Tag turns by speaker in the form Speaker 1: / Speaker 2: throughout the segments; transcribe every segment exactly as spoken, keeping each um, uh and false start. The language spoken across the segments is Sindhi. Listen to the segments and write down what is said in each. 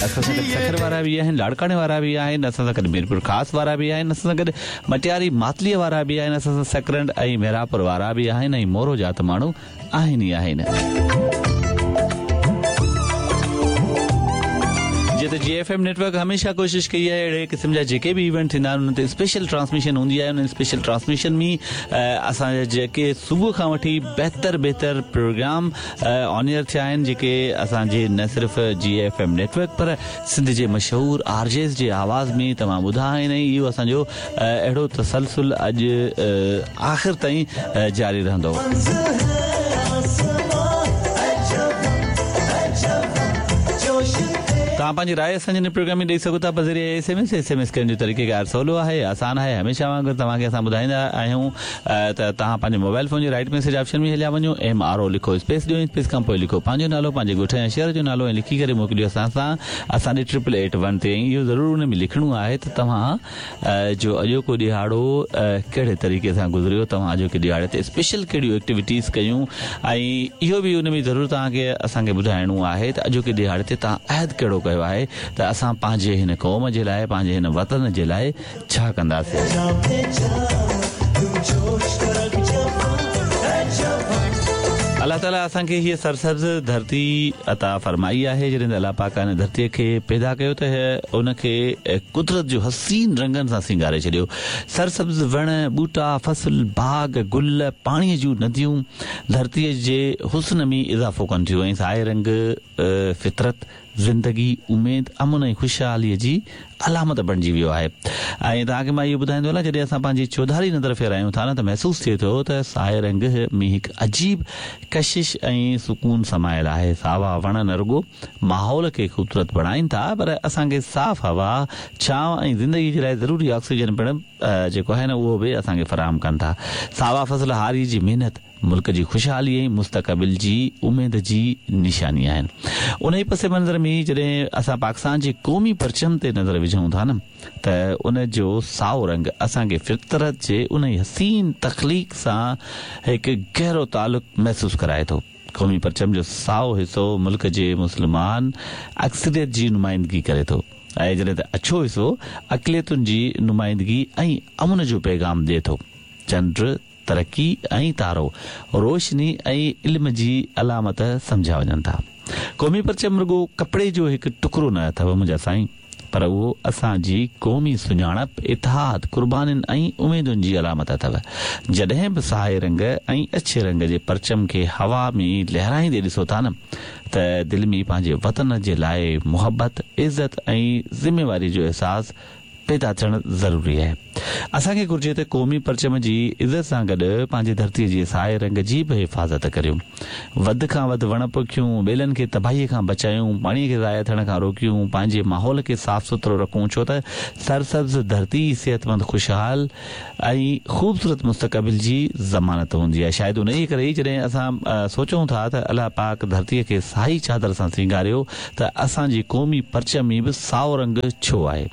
Speaker 1: اسان سان گڏ سکر وارا به آهن، لاڙڪاڻي وارا به آهن، اسان سان گڏ ميرپور خاص وارا به آهن، اسان سان گڏ مٽياري ماتليءَ وارا به آهن، اسان سان سڪرنڊ ۽ ميراپور وارا به آهن ۽ مورو جا ته ماڻهو آهن ئي آهن. جيئن ته جي ايف ايم نيٽ ورڪ هميشه ڪوشش ڪئي آهي اهڙي قسم جا جيڪي به ايونٽ ٿيندا آهن انهن تي اسپيشل ٽرانسميشن هوندي آهي. ان اسپيشل ٽرانسميشن ۾ اسان جا جيڪي صبح کان وٺي بهتر بهتر پروگرام آن ايئر ٿيا آهن، جيڪي اسان جي نه صرف جي ايف ايم نيٽ ورڪ پر سنڌ جي مشهور آر جيز جي آواز ۾ توهان ٻڌا آهن ۽ اهو اسان جو اهڙو تسلسل اڄ آخر تائين جاري رهندو. توهان پنهنجي راءِ اسان جي هن پروگرام ۾ ڏئي سگهو ٿا بذريعي S M S. S M S ڪرڻ جو طريقيڪار سولو آهي، آسان آهي. هميشه وانگر توهان کي اسان ٻڌائيندا آهيون ته توهان پنهنجي موبائل فون جي رائيٽ ميسيج آپشن ۾ هليا وڃو، ايم آر او لکو، اسپيس ڏيو، اسپيس کان پوءِ لکو پنهنجو نالو، پنهنجي ڳوٺ يا شهر جو نالو ۽ لکي ڪري موڪليو اسان سان اسان ڏي ٽرپل ايٽ ون تي. ۽ اهو ضرور ان ۾ لکڻو آهي ته توهان جو اڄوڪو ڏهاڙو ڪهڙي طريقي سان گذريو، توهان اڄوڪي ڏهاڙي تي اسپيشل ڪهڙيون ايڪٽيوٽيز ڪيون ۽ اهو به ان ۾ ضرور توهان کي اسان کي ٻڌائڻو آهي ته اڄوڪي ڏهاڙي تي توهان عهد ڪهڙو ڪيو آهي ته اسان پنهنجي هن قوم جي لاءِ، پنهنجي هن وطن جي لاءِ ڇا ڪنداسين. الله تعاليٰ اسان کي هيءَ سرسبز ڌرتي عطا فرمائي آهي. جڏهن ته الله پاڪ هن ڌرتيءَ کي پيدا ڪيو ته ان کي قدرت جو حسين رنگن سان سينگاري ڇڏيو. سرسبز وڻ، ٻوٽا، فصل، باغ، گل، پاڻيءَ جون نديون ڌرتيءَ جي حسن ۾ اضافو ڪن ٿيون ۽ سائي رنگ فطرت، زندگي، اميد، امن ۽ خوشحاليءَ جي علامت بڻجي ويو آهي. ۽ توهان کي مان اهو ٻڌائيندو هلان، جڏهن اسان پنهنجي چوڌاري نظر ڦيرايون ٿا نه ته محسوس ٿئي ٿو ته سائي رنگ ۾ هڪ عجيب ڪشش ۽ سڪون سمايل آهي. ساوا وڻ نه رڳو ماحول کي خوبصورت بڻائين ٿا پر اسان کي صاف هوا، ڇانو ۽ زندگي جي لاءِ ضروري آڪسيجن پڻ جيڪو آهي نه اهو به اسان کي فراهم ڪن ٿا. ساوا فصل هاري جي محنت، ملڪ جي خوشحالي ۽ مستقبل جي اميد جي نشاني آهن. ان ئي پس منظر ۾ جڏهن اسان پاڪستان جي قومي پرچم تي نظر وجهون ٿا نه ته ان جو سائو رنگ اسان کي فطرت جي ان ئي حسين تخليق سان هڪ گهرو تعلق محسوس ڪرائي ٿو. قومي پرچم جو سائو حصو ملڪ جي مسلمان اڪثريت جي نمائندگي ڪري ٿو ۽ جڏهن ته اڇو حصو اقليتن جي نمائندگي ۽ امن جو پيغام ڏئي ٿو. چنڊ ترقي ۽ تارو روشني ۽ علم جي علامت سمجهيا وڃن ٿا. قومي پرچم رڳو ڪپڙي جو هڪ ٽڪرو نه اٿو منهنجا سائين، پر اهو اسان جي قومي سڃاڻپ، اتحاد، قربانين ۽ اميدن جي علامت اٿو. جڏهن به سائي رنگ ۽ اڇي رنگ جي پرچم کي هوا ۾ لهرائيندي ڏسو ٿا نه ته دل ۾ پنهنجي وطن جي لاءِ محبت، عزت ۽ ذميواري جو احساس پيدا ٿيڻ ضروري آهي. اسان کي گهرجي ته قومي پرچم جي عزت سان گڏ پنهنجي ڌرتيءَ جي سائي رنگ جي به حفاظت ڪريون. وڌ کان وڌ وڻ پوکيون، ٻيلن کي تباهيءَ کان بچايون، پاڻيءَ کي ضايع ٿيڻ کان روڪيون، پنهنجي ماحول کي صاف سٿرو رکون، ڇو ته سرسبز ڌرتي صحتمند، خوشحال ۽ خوبصورت مستقبل جي ضمانت هوندي آهي. شايد ان ئي ڪري ئي جڏهن اسان سوچون ٿا ته الله پاڪ ڌرتيءَ کي سائي چادر سان سينگاريو ته اسان جي قومي پرچم ۾ به سائو رنگ ڇو آهي؟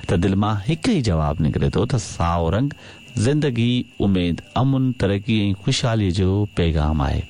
Speaker 1: ته دل مان هڪ ئي جواب نڪري ٿو ته سائو رنگ زندگي، اميد، امن، ترقي ۽ خوشحاليءَ جو پيغام آهي.